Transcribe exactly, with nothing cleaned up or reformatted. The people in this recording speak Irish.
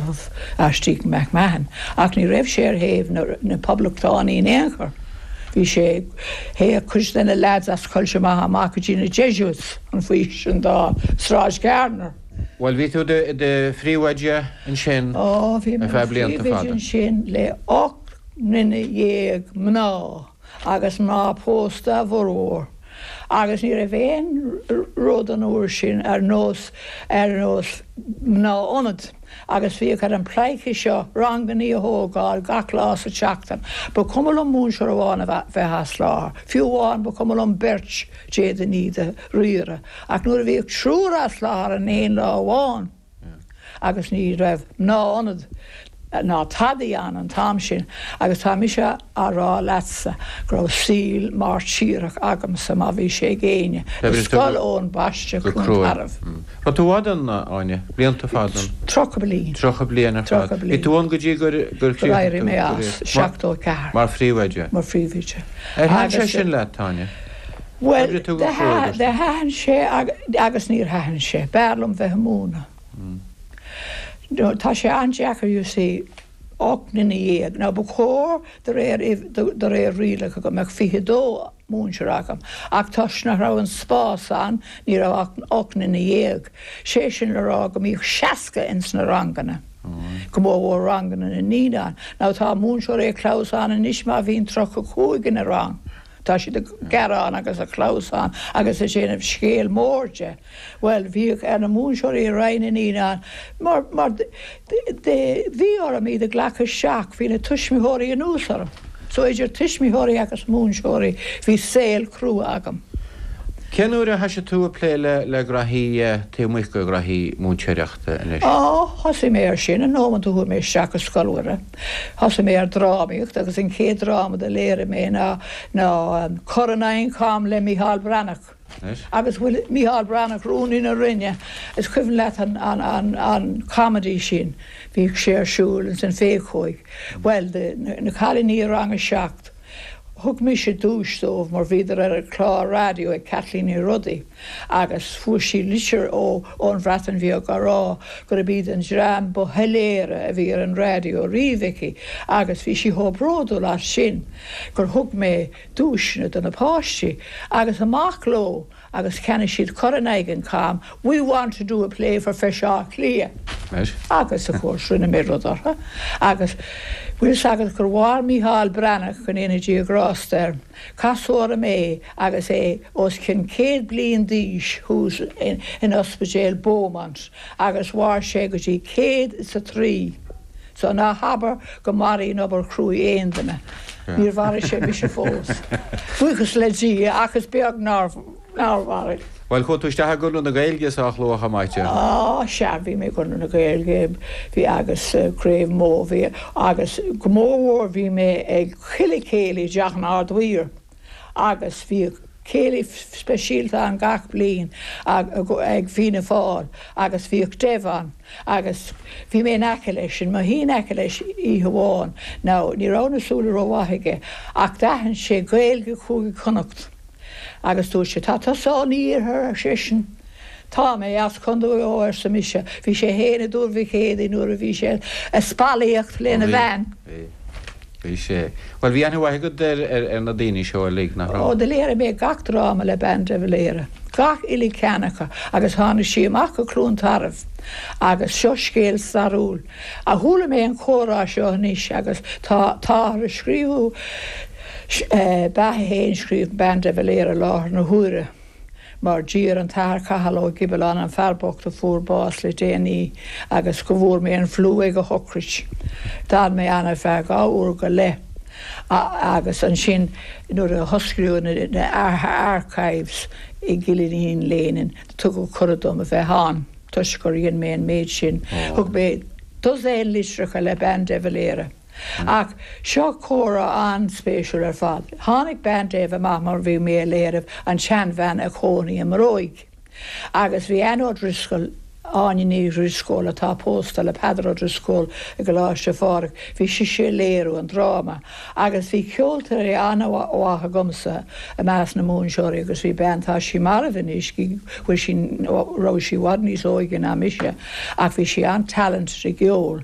Ollamh Archdeacon McMahon, ach ní raibh sé ar thaobh na, na poblachtánaigh in aon chor. Bhí sé théadh cuid de na lads as Coillte Macha amach go dtí na Jesuits an faoi sin dá Sráid Gardiner. Well bhí tú i do phríomhoide ansin Ó bhí ar feadh blianta fada. ansin le ocht nduine dhéag mná agus mná pósta a bhformhór. Agus ní raibh aon rud an uair sin ar nós ar nós mná ionad. agus bhíodh ar an bpleidhce seo ranganna a thógáil gach lá sa tseachtain. Ba chuma liom múinteoir amháin a bheith as láthair. Fiú amháin ba chuma liom beirt d'fhéadfainn iad a riaradh, ach nuair a bhíodh triúr as láthair in aon lá amháin. agus ní raibh mná ionad ná tadaí ann an t-am sin, agus tá mise á rá leatsa go raibh saol mairtíreach agamsa má bhí sé ag éinne. Scoil Eoin Baiste Cluain Tarbh. Raibh tú i bhfad ann Áine, blianta fada. Tríocha bliain. Tríocha bliain ar fad. Bhí tú ann go dtí gur gur éirigh mé as seachtó ceathair. Mar phríomhoide. Mar phríomhoide. Ar thaitin sé sin leat Áine? Well thaitin sé agus níor thaitin sé, b'fhearr liom bheith ag múineadh. No, tá sé an-deacair you see ocht nduine dhéag, ná ba chóir de réir de réir rialacha go mbeadh fiche dó múinteoir agam, ach toisc nach raibh an spás ann ní raibh ach ocht nduine dhéag. Sé sin le rá go mbíodh seasca ins na ranganna. Go mór mhór ranganna na naíonán. Ná tá múinteoirí ag clamhsán anois má bhíonn tríocha cúig ina rang. Tá siad ag gearán agus ag clamhsán agus ag déanamh scéal mór de. Well bhíodh ar na múinteoirí i Roinn na Naíonán mar mar bhí orm iad a ghlacadh isteach bhí na tuismitheoirí anuas orm. So idir tuismitheoirí agus múinteoirí bhí saol crua agam. Cén uair a thosaigh tú ag plé le le gnaithí taobh amuigh de ghnaithí múinteoireachta anois? Á thosaigh mé ar sin an nóiméad a chuaigh mé isteach go Scoil Mhuire. Thosaigh mé ar drámaíocht agus an chéad dráma a léirigh mé ná ná Cur in aghaidh an Cham le Micheál Breathnach. Agus bhfuil Micheál Breathnach rúnaí na Roinne is cuimhin leat an, an, an, an comedy sin bhí sé ar siúl san Phéacóig. Well de, na cailíní rang a seacht. Thug mise duais dóibh mar bhíodar ar an chlár raidió ag Kathleen Ní Rodaí agus fuair sí litir ó ón Bhreatain Bheag á rá gurb iad an dream ba shoiléire a bhí ar an raidió riamh aici agus bhí sí chomh bródúil as sin gur thug mé duaiseanna do na páistí agus amach leo agus cheannaigh siad cur in aghaidh an cham, we want to do a play for Feis Átha Cliath. Agus of course rinne mé rud orthu agus bhfuil agad gur mhair Micheál Breathnach go ndéana Dia grásta air. Casadh orm é agus é os cionn céad bliain d'aois thuas in, in ospidéal Beaumont agus mhair sé go dtí céad is a trí. So ná habair go maraíonn obair chruaidh aon duine. Níor mharaigh sé mise fós. Buíochas le Dia agus beag nár nár mharaigh. Well chuaigh tú isteach i gConradh na Gaeilge sách luath maite. Á sea bhí mé Conradh na Gaeilge bhí agus Craobh Mó bhí agus go mór bhí mé ag chuile céilí i dTeach an Ard-Mhaoir agus bhí céilí speisialta ann gach bliain ag Fianna Fáil agus bhíodh Dev ann agus bhí mé in aice leis sin mo shuí in aice leis oíche amháin ná ní raibh na súile rómhaith aige ach d'aithin sé Gaeilge Chúige Chonnacht. agus dúirt sé tá tusa ón iarthar ar seisean. Tá mé as Contae arsa mise, bhí sé féin i dTuar Mhic Éadaigh nuair a bhí sé ag spallaíocht lena bhean. Bhí sé. Well bhí aithne mhaith agat ar ar na daoine seo uilig nach Ó do léirigh mé gach dráma le bean de Valera. Gach uile cheann acu agus tháinig sí amach go Cluain Tarbh agus seo scéal stairiúil. A chuala mé an comhrá seo anois agus tá táthar ag scríobh beatha féin scríobh bean de Valera láthair na huaire. mar d'iarr an tAthair Cathal Ó Gibealláin an fear bocht a fuair bás le déanaí agus go bhfuair mé an fliú ag a shochraid. D'fhan mé ann ar feadh dhá uair go leith agus ansin nuair a hosclaíodh na archives i gCill Iníon Léinín tugadh cuireadh dom a bheith ann toisc gur dhein mé an méid sin. Thug mé dosaen litreacha le bean de Valera. Ach seo comhrá an-spéisiúil ar fad. Tháinig bean Dev amach mar bhí mé ag léiriú an tseanbhean a chónaí i mbróig. Agus bhí Anne O'Driscoll Áine Ní Dhrisceoil atá pósta le Peadar Ó Drisceoil i gColáiste Phádraig, bhí sise ag léiriú an dráma, agus bhí ceoltóirí an-mhaith agamsa i measc na múinteoirí agus bhí bean tá sí marbh anois bhfuil sí raibh sí i bhfad níos óige ná mise ach bhí sí an-talented i gceol.